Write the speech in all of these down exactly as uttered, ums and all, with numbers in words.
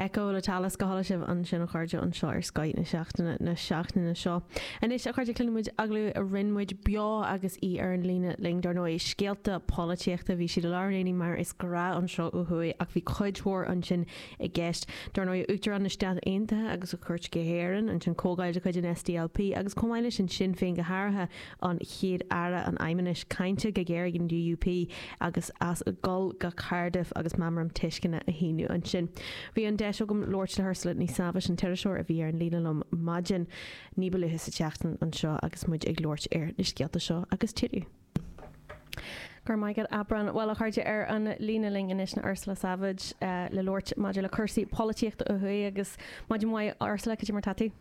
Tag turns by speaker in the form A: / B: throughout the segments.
A: Echo le Talas go hálainn sibh ansin a chairde anseo ar Scoth na seachtaine na seachtaine seo. Anois a chairde cluinfidh muid agallamh a rinne muid beo agus í ar an líne linn dar ndóigh scéalta polaitíochta bhí siad i lár an aonaigh mar is gnách anseo ó thuaidh ach bhí cuid mhór ansin i gceist. Dar ndóigh Uachtarán na Stát Aontaithe agus a chuairt go hÉirinn ansin comhdháil de chuid an SDLP agus chomh maith leis an Sinn Féin go háirithe an chéad aire an fheidhmeannais cáinte go géar ag an DUP agus as dul go Cardiff agus meamram tuisceana a shíniú ansin. Bhí an deis agam labhairt le hUrsula Ní Shábhais an t-iriseoir a bhí ar an líne liom maidin ní ba luaithe sa tseachtain anseo agus muid ag labhairt ar na scéalta seo agus tuilleadh. Gur maigad Abrán well a chairde ar an líne linn anois ná Ursula Savage uh, le labhairt maidir le cúrsaí polaitíochta ó thuaidh agus maidin mhaith Ursula cad é mar tá tú?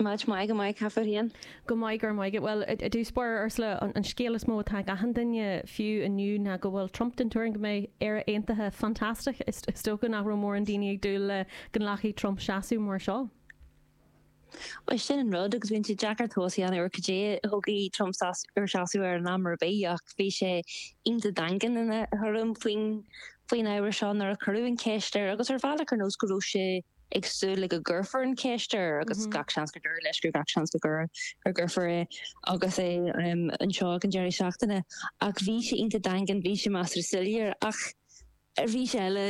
B: Maidin mhaith go maith cén chaoi.
A: Go maith gur maith well i dtús báire Ursula an, an scéal is mó atá ag achan duine fiú inniu ná go bhfuil Trump den tuairim go mbeidh Éire aontaithe fantastach is is dócha nach raibh mórán daoine ag dúil le go nglacfaidh Trump seasamh mar seo.
B: Well sin an rud agus bíonn sé deacair tomhas a dhéanamh ar cad é a thógfaidh Trump ar seasamh ar an am ar bith ach bhí sé iontach daingean ina thuairim faoin faoin ábhar seo nuair a cuireadh an cheist air agus ar bhealach ar nós go raibh sé ag súil le go gcuirfear an cheist air agus mm -hmm. gach seans go dúirt leis gur gach seans go gur gur gcuirfear é agus é um, anseo an deireadh seachtaine ach bhí sé iontach daingean bhí sé measartha soiléir ach bhí sé eile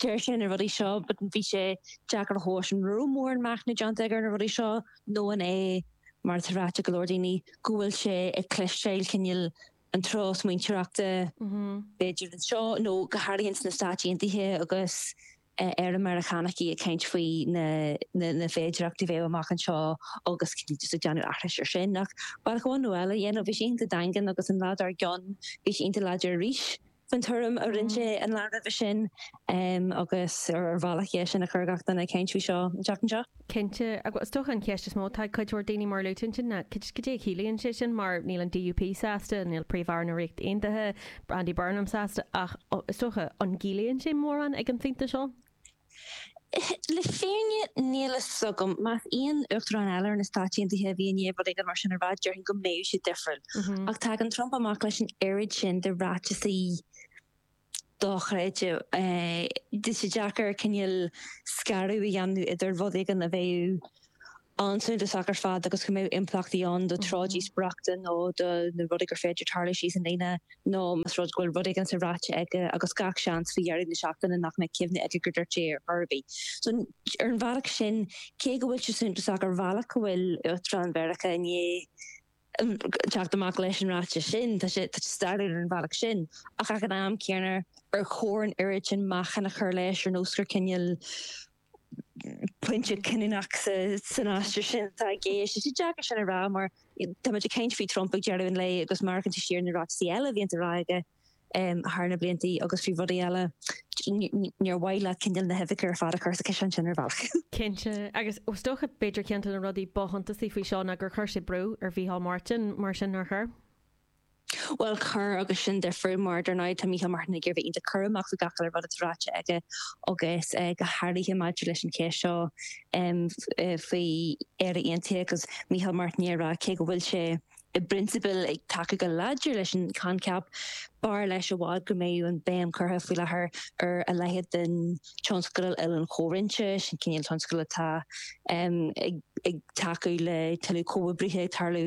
B: deir sé na rudaí seo, but bhí sé deacair a thomhas an raibh mórán machnaimh déanta air na rudaí seo nó an é mar atá ráite go leor daoine go bhfuil sé ag cloisteáil cineál an treo smaointeoireachta b'fhéidir anseo nó go háirithe sna Stáit Aontaithe agus ar Meiriceánaigh ag caint faoi na na, na féidearthachtaí bheith amach anseo agus just ag déanamh aithris ar sin ach bealach amháin nó eile dhéanamh bhí sé iontach daingean agus an lá dár gcionn bhí sé iontach láidir arís faoin tuairim a rinne sé an lá roimhe sin um, agus ar ar bhealach é sin a chur gach duine ag caint faoi seo an tseachtain seo.
A: Cinnte agus is dócha an cheist is mó tá cuid mhór daoine mar luaite sin ná cad é a chiallaíonn sé sin mar níl an DUP sásta, níl Príomh-Aire na Ríochta Aontaithe, Andy Burnham sásta ach is dócha an gciallaíonn sé mórán ag an phointe seo?
B: Le fírinne níl a fhios agam más aon uachtarán eile ar na Stáit Aontaithe a bhí i ndiaidh rud éigin mar sin a rá déarfainn go mbeadh sé difriúil. Ach tagann Trump amach leis an oiread sin de ráitisí dochreidte. Tá sé deacair cineál scaradh a dhéanamh idir rud éigin a bheadh an-suntasach ar fad agus go mbeadh impleachtaí ann do treo díospóireachta nó do na rudaí gur féidir tarlú síos an líne nó más rud go bhfuil rud éigin sa ráite aige agus gach seans faoi dheireadh na seachtaine nach mbeidh cuimhne aige gur dúirt sé ar chor ar bith. So ar an bhealach sin cé go bhfuil sé suntasach ar bhealach go bhfuil Uachtarán Mheiriceá i ndiaidh teacht amach leis an ráiteas sin tá sé stairiúil ar an bhealach sin ach ag an am céanna ar chóir an oiread sin meáchan a chur leis ar nós gur cineál pointe cinniúnach san aistear sin atá i gceist. Is deacair sin a rá mar tá muid ag caint faoi Trump ag deireadh an lae agus mar an siar na ráitisí eile a bhíonn á rá aige thar na blianta agus faoi rudaí eile níor mhaith leat cineál na huibheacha ar fad a chur sa ciseán sin ar bhealach.
A: Cinnte agus is dócha b'fhéidir ceann de na rudaí ba shuntasaí faoi seo ná gur chuir sé brú ar Mhícheál Martin mar sin nár chuir.
B: Well chuir agus sin difriúil mar dar ndóigh tá Micheál Martin ag iarraidh iontach cúramach faoi gach uile rud atá ráite aige agus go háirithe maidir leis an cheist seo faoi Éire Aontaithe agus Micheál Martin ag rá cé go bhfuil sé i bprionsabal ag tacú go láidir leis an choincheap b'fhearr leis i bhfad go mbeadh an béim curtha faoi láthair ar a leithéid den tionscadal Oileáin Chomhroinnte sin cineál tionscadal atá ag ag tacú le tuilleadh comhoibrithe ag tarlú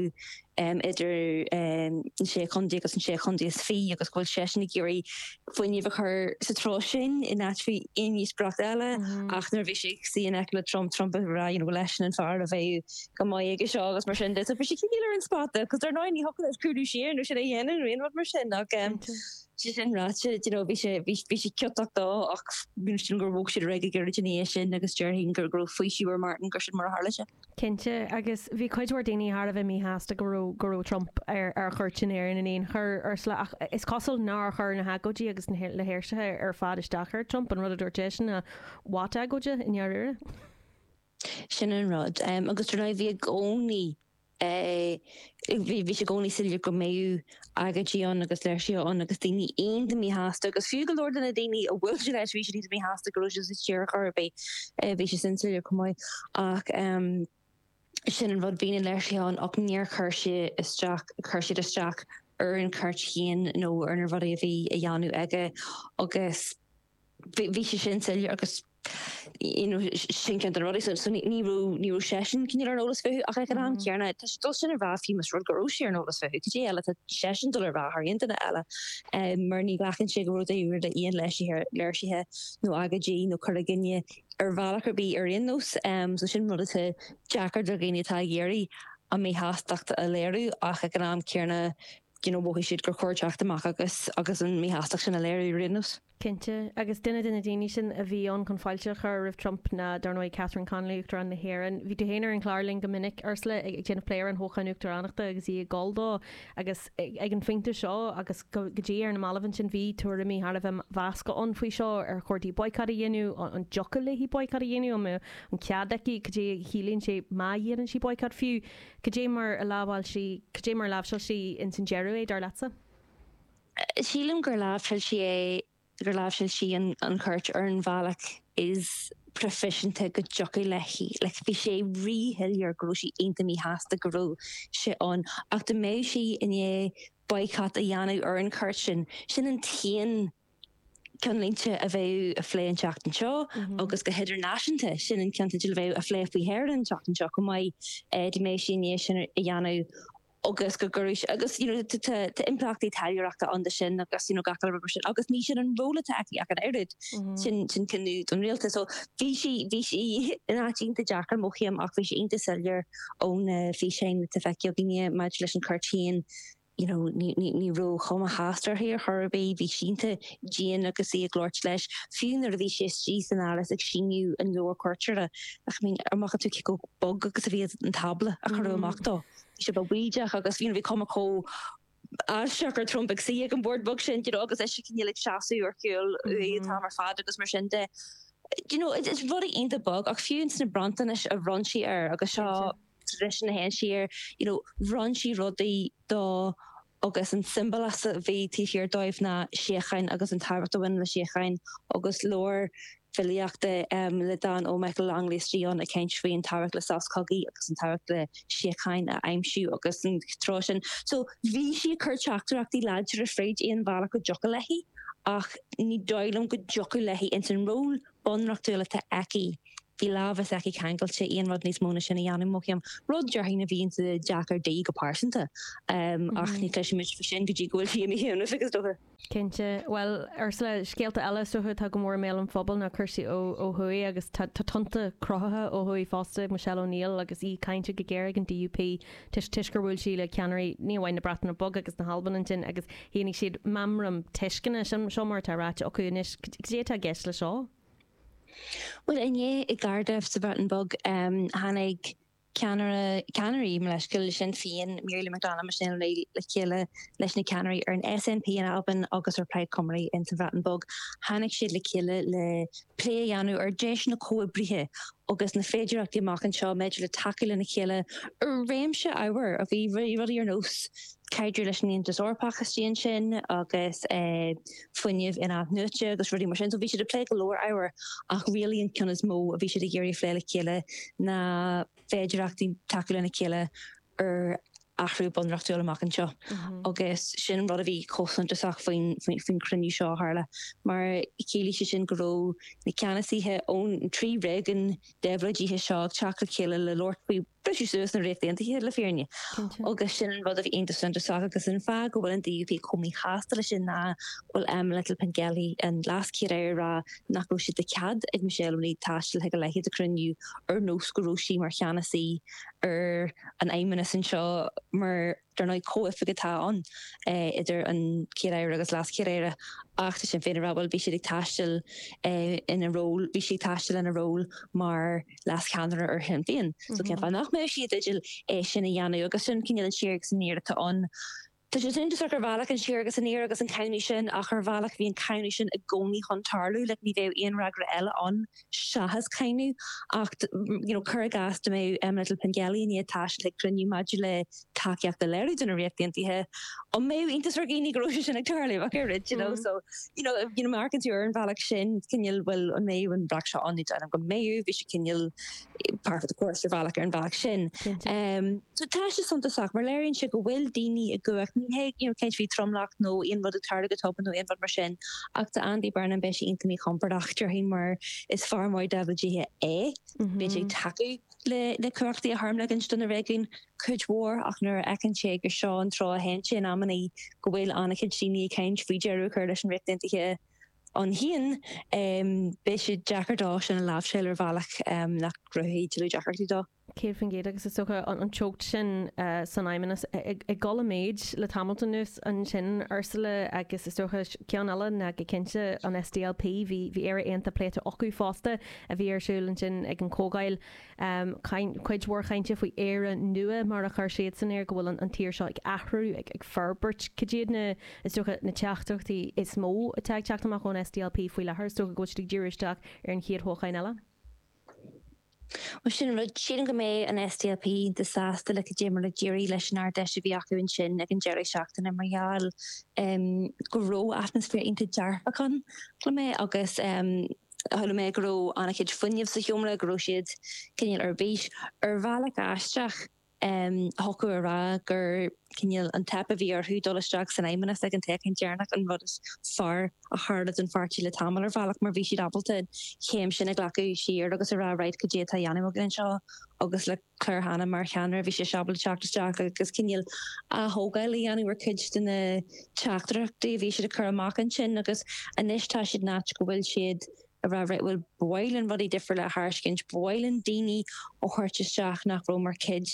B: idir an sé chontae agus an sé chontae is fiche agus go bhfuil seisean ag iarraidh fuinneamh a chur sa treo sin in áit faoi aon díospóireacht eile ach nuair a bhí sé ag suí in aice le Trump Trump a rá you know leis an fear a bheadh go maith aige seo agus mar sin de so bhí sé cineál ar an spota cos dar ndóigh ní thiocfadh leis cúlú siar nó sin a dhéanamh nó aon rud mar sin ach sé sin ráite you know bhí sé bhí sé ciotach dó ach sin gur bhog siad ar aghaidh go gairid ina dhiaidh sin agus déarfainn gur go raibh faoiseamh ar Martin gur sin mar a tharla sé.
A: Cinnte agus bhí cuid mhór daoine thar a bheith míshásta go raibh go raibh Trump ar ar chuairt in Éirinn in aon chor Ursula ach is cosúil nár chuir na hagóidí agus na le léirsithe ar fad isteach ar Trump an rud a dúirt seisean ná what agóide i ndáiríre.
B: Sin an rud um, agus dar ndóigh bhí i gcónaí bhí bhí sé i gcónaí soiléir go mbeadh agóidí ann agus léirsithe ann agus daoine iontach míshásta agus fiú go leor de na daoine a bhfuil sé leis bhí siad iontach míshásta go raibh sé sa tír chor ar bith bhí sé sin soiléir chomh maith ach um, sin an rud bhí na léirsithe ann ach níor chuir sé isteach chuir siad isteach ar an chuairt féin nó ar na rudaí a bhí a dhéanamh aige agus Bhí sé sin soiléir agus you know, sin ceann de na rudaí so so ní ní raibh ní raibh seisean cineál ar an eolas fúthu ach ag an am céanna tá sé dul sin a rá fiú más rud go raibh sé ar an eolas fúthu cad é eile tá seisean dul a rá thar aon duine eile um, mar ní ghlacann sé go raibh rud aon léirsithe léirsithe nó agóidí nó cur i gcoinne ar bhealach ar bith ar aon nós um, so sin rud atá deacair do dhaoine atá ag iarraidh a míshástacht a léiriú ach ag an am céanna you know, mhothaigh siad gur chóir teacht amach agus agus an míshástacht sin a léiriú ar aon nós.
A: Cinnte, agus duine de na daoine sin a bhí ann chun fáilte a chur roimh Trump ná dar ndóigh Catherine Connolly Uachtarán na hÉireann. Bhí tú féin ar an chlár linn go minic Ursula ag déanamh plé ar an thoghchán uachtaránachta agus í ag gabháil dó agus ag an phointe seo agus go dtí ar na mallaibh ansin bhí tuairimí thar a bheith measctha ann faoi seo ar chóir di boycott a dhéanamh an dtiocfadh léi boycott a dhéanamh an an cead aici cad é a chiallaíonn sé má dhéanann sí boycott fiú cad é mar a lámháil sí cad é mar a láimhseáil sí ins an deireadh é dar leatsa?
B: Sílim gur láimhseáil sí é gur láimhseáil sí an, an chuairt ar an bhealach is proifisiúnta go dtiocfadh léi. Like, bhí sé ríshoiléir go raibh sí iontach míshásta go raibh sé ann ach dá mbeadh sí i ndiaidh boycott a dhéanamh ar an chuairt sin, sin an t-aon ceannlínte a bheadh á phlé an tseachtain seo agus go hidirnáisiúnta sin an ceannteideal a bheadh á phlé faoi Éirinn an tseachtain seo chomh maith eh, dá mbeadh sí i ndiaidh sin a dhéanamh agus go gcuirfeadh agus you know, tá impleachtaí taidhleoireachta ann de sin agus you know, gach rud mar sin agus ní sin an ról atá aici ach an oiread sin sin cinneadh don rialtas so bhí sí bhí sí in áit iontach deacair mothaím ach bhí sé iontach soiléir ón físeán atá feicthe againne maidir leis an chuairt féin you know, ní, ní, ní raibh cuma shásta uirthi ar chor ar bith, bhí sí iontach dian agus í ag labhairt leis fiú nuair a bhí sé istigh san áras ag síniú an leabhar cuairteora ach I mean, amach tú go bog agus a bhí an tábla a cuireadh amach dó. Bhí sé baoideach agus bhí bhí cuma chomh aisteach ar Trump ag suí ag an bord bog sin you know, agus é cineál ag seasamh ar chúl uaidh an t-am ar fad agus mar sin de. You know, is rudaí iontach bog ach fiú na bronntanais a bhronn sí air agus seo tradition a théann siar, you know, bhronn sí rudaí dó agus an siombail a bhí taobh thiar dóibh ná síocháin agus an tábhacht a bhaineann le síocháin agus leabhar filíochta um, le dán ó Michael Longley istigh ann ag caint faoin tábhacht le sos cogaidh agus an tábhacht le síocháin a aimsiú agus an treo sin. So bhí sí ag cur teachtaireachtaí láidre fríd aon bhealach go dtiocfadh léi ach ní dóigh liom go dtiocfadh léi ins an ról bunreachtúil atá aici. Bhí lámha s'aici ceangailte aon rud níos mó ná sin a dhéanamh mothaím rud déarfainn a bhíonn deacair di go pearsanta um, ach ní chloisfimid faoi sin go dtí go bhfuil sí imithe ón oifig is dócha.
A: Cinnte, well Ursula scéalta eile is dócha atá go mór i mbéal an phobail ná cúrsaí ó ó thuaidh agus tá tonnta cruthaithe ó thuaidh fosta Michelle O'Neill agus í cáinte go géar ag an DUP toisc toisc gur bhuail sí le ceannairí ní amháin na Breataine Bige agus na hAlban ansin agus shínigh siad meamram tuisceana sin seo mar atá ráite acu anois cad é atá i gceist le seo.
B: Well inné i gCardiff sa Bhreatain Bheag um, tháinig ceannaire ceannairí leis Sinn Féin Mary McDonald Michelle O'Neill le chéile leis na ceannairí ar an SNP in Albain agus ar Plaid Cymru in sa Bhreatain Bheag. Tháinig siad le chéile le plé a dhéanamh ar deiseanna comhoibrithe agus na féidearthachtaí amach anseo maidir le tacú lena chéile ar réimse ábhar a bhí rudaí ar nós caidreamh leis an Aontas Eorpach istigh ansin agus eh, fuinneamh in-athnuaite agus rudaí mar sin, so bhí siad ag plé go leor ábhar ach really an ceann is mó a bhí siad ag iarraidh plé le chéile na féidearthachtaí tacú lena chéile ar athrú bunreachtúil amach anseo. Agus sin rud a bhí chomh suntasach faoin faoin chruinniú seo a tharla, mar chiallaigh sé sin go raibh na ceannasaithe ón trí réigiún déabhlóidithe seo ag teacht le chéile le labhairt faoi briseadh suas na Ríochta Aontaithe le fírinne. Agus sin an rud a bhí iontach suntasach agus an fáth go bhfuil an DUP chomh míshásta leis sin ná bhfuil Emma Little-Pengelly an leas-chéad-aire ag rá nach raibh sé de chead ag Michelle O'Neill taisteal chuig a leithéid de chruinniú ar nós go raibh sí mar cheannasaí ar an fheidhmeannas anseo mar dar ndóigh comhoifig atá ann eh, idir an chéad-aire agus leas-chéad-aire ach tá Sinn Féin ag rá bhuel bhí siad ag taisteal eh, ina ról bhí sí ag taisteal ina ról mar leascheannaire ar Shinn Féin. So cén fáth nach mbeadh sí i dteideal é sin a dhéanamh agus sin cineál an siar agus aniar atá ann. Tá sé suntasach ar bhealach an siar agus aniar agus an cáineadh sin ach ar bhealach bhí an cáineadh sin i gcónaí chun tarlú, le ní bheadh aon fhreagra eile ann seachas cáineadh ach you know, cuir i gcás dá mbeadh Emma Little-Pengelly i ndiaidh taisteal ag cruinniú maidir le tacaíocht a léiriú don Ríocht Aontaithe an mbeadh iontas ar dhaoine go raibh sé sin ag tarlú ach oiread, you know, so you know, you know, marcann tú ar an bhealach sin cineál bhfuil an mbeadh an breac seo ann nó go mbeadh bhí sé cineál par for the course ar bhealach ar an bhealach sin. Um, so tá sé suntasach mar léiríonn sé go bhfuil daoine i gcumhacht ní Ní hé you know, céint bhí tromlach nó aon rud ag tarlú go tobann nó aon rud mar sin ach do Andy Burnham beidh sé iontach míchompordach déarfainn mar is fear mór W G é Beidh sé ag tacú le le cumhachtaí a tharmligean do na réigiúin cuid mhór ach nuair a fheiceann sé gur seo an treo a théann sé in amannaí go bhfuil an-chuid daoine ag caint faoi deireadh a chur leis an Ríocht Aontaithe ann féin beidh sé deacair dó sin a láimhseáil ar bhealach nach gcruthóidh tuilleadh deacrachtaí dó.
A: Céad faoin gcéad agus is dócha an teocht sin san Fheidhmeannas ag dul i méid le tamall anuas ansin Ursula agus is dócha ceann eile ná go cinnte an S D L P bhí bhí Éire Aontaithe pléite acu fosta a bhí ar siúl ansin ag an comhdháil cuid mhór chainte faoi Éire nua mar a chuir siad san air go bhfuil an tír seo ag athrú ag ag forbairt cad iad na is dócha na teachtaireachtaí is mó atá ag teacht amach ón S D L P faoi láthair is dócha go bhfuil siad ag díriú isteach ar an chéad thoghchán eile.
B: Well sin rud sílim go mbeidh an S D L P sásta le cad é mar a d'éirigh leis an Ard-Fheis a bhí acu ansin ag an deireadh seachtaine mar gheall um, go raibh atmaisféar iontach dearfach ann le mé agus um, chuala mé go raibh an-chuid fuinnimh sa seomra go raibh siad cineál ar bís ar bhealach aisteach um, thiocfadh a rá gur cineál an teip a bhí orthu dul isteach san fheidhmeannas ag an toghchán deireanach an rud is fearr a tharla don pháirtí le tamall ar bhealach mar bhí siad ábalta céim sin a ghlacadh siar agus a rá right cad é atá á dhéanamh againn anseo agus le Claire Hanna mar cheannaire bhí sé ábalta teacht isteach agus cineál atógáil a dhéanamh ar cuid de na teachtaireachtaí a bhí siad a chur amach ansin agus anois tá siad in áit go bhfuil siad a rá bhfuil bhfuil rudaí difriúla le tairiscint bhfuil daoine ó chuairt isteach nach raibh mar chuid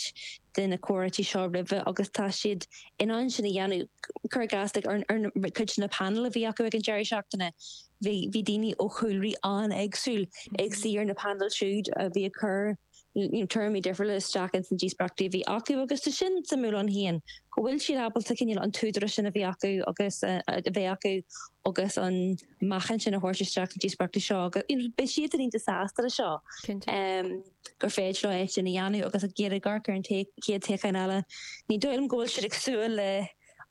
B: de na comhráití seo roimhe agus tá siad in ann sin a dhéanamh cur gas ar ar cuid na panel a bhí acu ag an deireadh seachtaine. Bhí bhí daoine ó chúlraí an-éagsúil ag suí ar na panel siúd a bhí ag cur tuairimí difriúla isteach in san díospóireachtaí a bhí acu agus tá sin suimiúil ann féin go bhfuil siad ábalta cineál an t-údarás sin a bhí acu agus a bheith acu agus an meáchan sin a thabhairt isteach an díospóireachtaí seo agus beidh siad iontach sásta le seo gur féidir leo é sin a dhéanamh agus ag iarraidh amharc ar an chéad toghchán eile. Ní dóigh liom go bhfuil siad ag súil le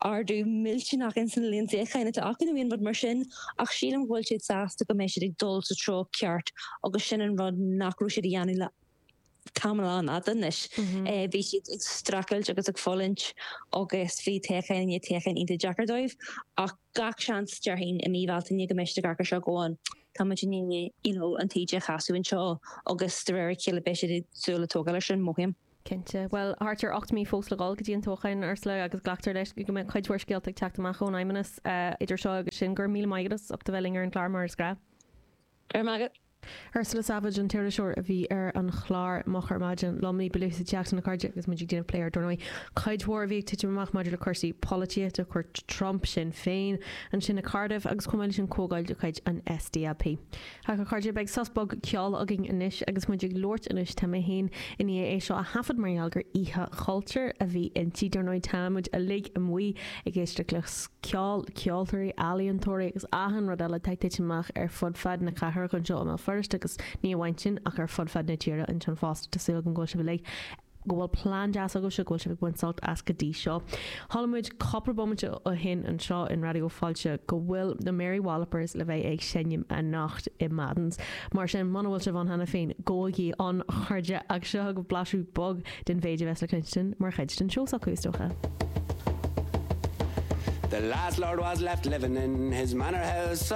B: ardú millteanach in san líon suíochán atá acu nó aon rud mar sin ach sílim go bhfuil siad sásta go mbeidh siad ag dul sa treo ceart agus sin an rud nach raibh siad a dhéanamh le tamall an-fhada anois. Mm Bhí siad ag streachailt agus ag fulaingt agus bhí toghchán i ndiaidh toghcháin iontach deacair dóibh ach gach seans déarfainn i mí Bhealtaine go mbeidh siad seo go an Tá you know, an taoide a chasadh anseo agus de réir a chéile beidh siad súil le tógáil sin mothaím.
A: Cinnte, well thart ar ocht mí fós le dul go dtí an toghchán Ursula agus glactar leis go mbeidh cuid mhór scéalta ag teacht amach ón Fheidhmeannas uh, idir seo agus sin gur míle maith agat as a bheith linn ar an chlár mar is gnách.
B: Ar magat.
A: Ursula Savage an t-iriseoir a bhí ar an chlár Moch ar Maidin liom ní ba luaithe sa tseachtain a chairde agus muid ag déanamh plé ar ndóigh. Cuid mhór a bhí ag titim amach maidir le cúrsaí polaitíochta cuairt Trump Sinn Féin ansin i Cardiff agus chomh maith leis an comhdháil de chuid an S D L P. Ach a chairde beidh sos beag ceoil againn anois agus muid ag labhairt anois tá mé féin i ndiaidh é seo a thaifead mar gheall gur oíche chultúir a bhí inti dar ndóigh tá muid uilig amuigh ag éisteacht le ceol ceoltóirí ealaíontóirí agus achan rud eile atá ag titim amach ar fud fad na cathrach anseo i mBéal Feirste agus ní amháin sin ach ar fud fad na tíre ansin fosta tá súil agam go bhfuil sibh uilig go bhfuil plean deas agaibh go bhfuil sibh ag baint sult as go dtí seo. Chuala muid cúpla bomaite ó shin anseo in Raidió Fáilte go bhfuil na Mary Wallopers le bheith ag seinm anocht i Madden's. Mar sin muna bhfuil sibh ann cheana féin gabhaigí ann a chairde ach seo go blaiseadh beag den mhéid a bheas le cluinstin mar chuid den seó s'acu is dócha.
C: The last lord was left living in his manor house.